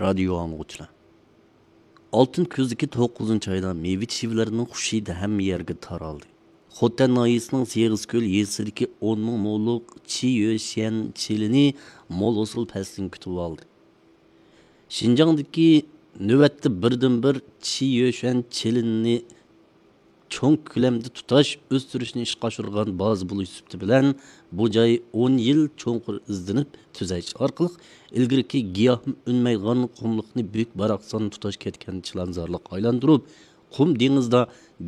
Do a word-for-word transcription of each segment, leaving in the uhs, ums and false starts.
رادىيو ئاڭلىغۇچىلار، ئالتۇن كۈزدىكى توققۇزىنچى ئايدا مېۋە چىۋىلەرنىڭ خۇش ھىدى ھەممە يەرگە تارالدى. خوتەن ناھىيەسىنىڭ سېغىز كۆل يېزىسىدىكى ئون مىڭ مولۇق چى يۆشيەن چىلىنى مول ھوسۇل پەسلىنى كۈتۈۋالدى. شىنجاڭدىكى نۆۋەتتە بىردىنبىر چى يۆشيەن چىلىنى چوڭ كۆلەمدە تۇتاش ئۆستۈرۈشنى ئىشقا ئاشۇرغان بازا بولۇش سۈپىتى بىلەن، بۇ جاي ئون يىل چوڭقۇر ئىزدىنىپ تۈزەش ئارقىلىق ئىلگىرىكى گىياھ ئۈنمەيدىغان قۇملۇقنى بۈك باراقسان تۇتاش كەتكەن چىلانزارلىققا ئايلاندۇرۇپ، قۇم دېڭىزدا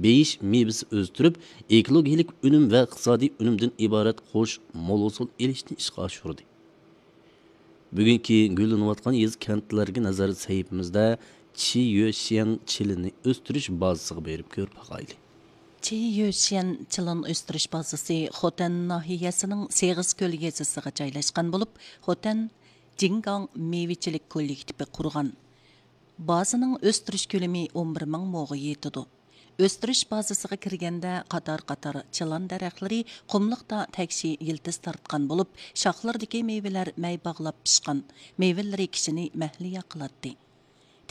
بېيىش مېۋىسى ئۆستۈرۈپ، ئېكولوگىيىلىك ئۈنۈم ۋە ئىقتىسادىي ئۈنۈمدىن ئىبارەت خوش مول ھوسۇل ئېلىشنى ئىشقا ئاشۇردى. بۈگۈنكى گۈللىنىۋاتقان يېزا، كەنتلەرگە نەزەر سەھىپىمىزدە چى يۆشيەن چىلىنى ئۆستۈرۈش بازىسىغا بېرىپ كۆرۈپ باقايلى. چى يۆشيەن چىلان ئۆستۈرۈش بازىسى خوتەن ناھىيەسىنىڭ سېغىز كۆل يېزىسىغا جايلاشقان بولۇپ، خوتەن جىڭگاڭ مېۋىچىلىك كوللېكتىپى قۇرغان. بازىنىڭ ئۆستۈرۈش كۆلىمى ئون بىر مىڭ موغا يېتىدۇ. ئۆستۈرۈش بازىسىغا كىرگەندە، قاتار-قاتار چىلان دەرەخلىرى قۇملۇقتا تەكشى يىلتىز تارتقان بولۇپ، شاخلىرىدىكى مېۋىلەر مەي باغلاپ پىشقان، مېۋىلىرى كىشىنى مەھلىيا قىلاتتى.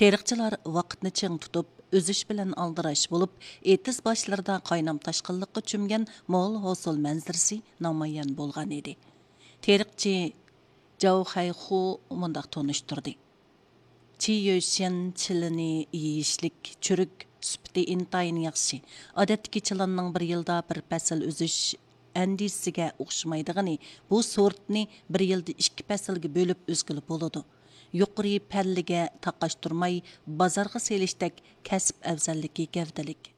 تېرىقچىلار ۋاقىتنى چىڭ تۇتۇپ، ئۈزۈش بىلەن ئالدىراش بولۇپ، ئېتىز باشلىرىدا قاينام تاشقىنلىققا چۆمگەن مول ھوسۇل مەنزىرىسى نامايان بولغان ئىدى. تېرىقچى جاۋ خەيخۇ مۇنداق تونۇشتۇردى. چى يۆشيەن چىلىنى يېيىشلىك، چۈرۈك، سۈپىتى ئىنتايىن ياخشى. ئادەتتىكى چىلاننىڭ بىر يىلدا بىر پەسىل ئۈزۈش ئەندىزىسىگە ئوخشىمايدىغىنى، بۇ سورتنى بىر يىلدا ئىككى پەسىلگە بۆلۈپ ئۈزگىلى بولىدۇ. يۇقىرى پەللىگە تاقاشتۇرماي، بازارغا سېلىشتەك كەسىپ ئەۋزەللىكى گەۋدىلىك.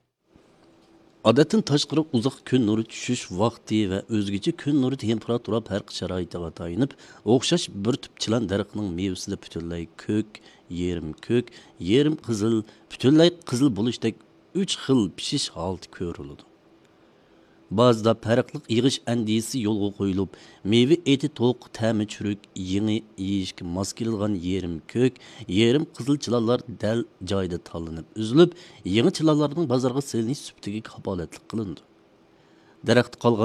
ئادەتتىن تاشقىرى ئۇزاق كۈن نۇرى چۈشۈش ۋاقتى ۋە ئۆزگىچە كۈن نۇرى تېمپېراتۇرا پەرقى شارائىتىغا تايىنىپ، ئوخشاش بىر تۈپ چىلان دەرىخىنىڭ مېۋىسىدە پۈتۈنلەي كۆك، يېرىم كۆك، يېرىم قىزىل، پۈتۈنلەي قىزىل بولۇشتەك ئۈچ خىل پىشىش ھالىتى كۆرۈلىدۇ. بازىدا پەرقلىق يىغىش ئەندىزىسى يولغا قويۇلۇپ، مېۋە ئېتى توق، تەمى چۈرۈك، يېڭى، يېيىشكە ماس كېلىدىغان يېرىم كۆك، يېرىم قىزىل چىلانلار دەل جايىدا تاللىنىپ ئۈزۈلۈپ، يېڭى چىلانلارنىڭ بازارغا سېلىنىش سۈپىتىگە كاپالەتلىك قىلىنىدۇ. دەرەختە قالغان